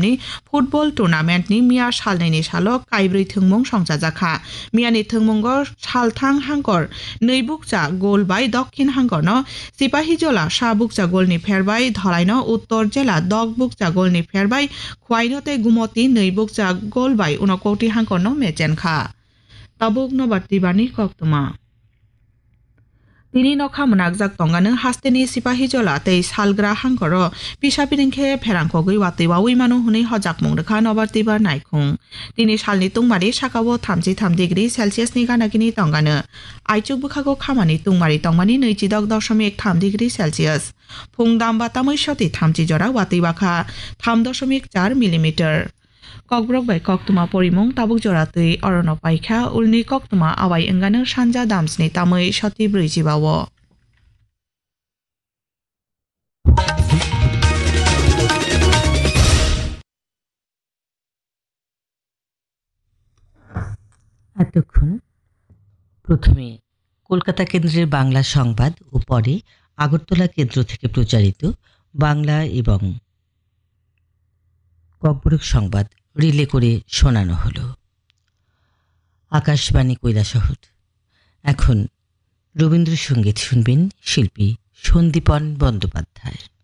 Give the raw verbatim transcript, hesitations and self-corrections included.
ni football tournament ni miya salnwi ni salo kaibrwi thwngmung songchajakha. Miya ni thwngmungo Salthang hangkor nwi bukcha goal bai Dokhin hangkor no Sipahijola sa bukcha goal ni pherbai Dholai no Uttor Jela dok bukcha goal ni pherbai Khwaino tei Gumoti nwi bukcha goal bai Unakoti hangkor no mechenkha. Tabuk nobar tibani koktwma. Tini nokha mwnakjak tongano hasteni Sipahijola tei Salgra hangkoro pisa piring khe pherangkogwi watwi wawi mano hwnwi hojakmung rwkha nobar tibar naikhung. Tini salni tungmari sakao thamchi tham degree Celsius ni ganagini tongano. Aichuk bwkhago khamani tungmari tongmani nwichidok dosomik tham degree Celsius. Phung damba tamwi soti thamchi jora watwi bakha tham dosomik char millimeter. Kokborok bai koktwma porimung tabuk jora twi orono paikha, ulni koktwma awai wngano sanja damsni tamwi soti brwijiba o. এতক্ষণ প্রথমে কলকাতা কেন্দ্রের বাংলা সংবাদ ও পরে আগরতলা কেন্দ্র থেকে প্রচারিত বাংলা এবং ককবরক সংবাদ রিলে করে শোনানো হলো। আকাশবাণী কৈলাসহর। এখন রবীন্দ্রসঙ্গীত শুনবেন শিল্পী সন্দীপন বন্দ্যোপাধ্যায়ের।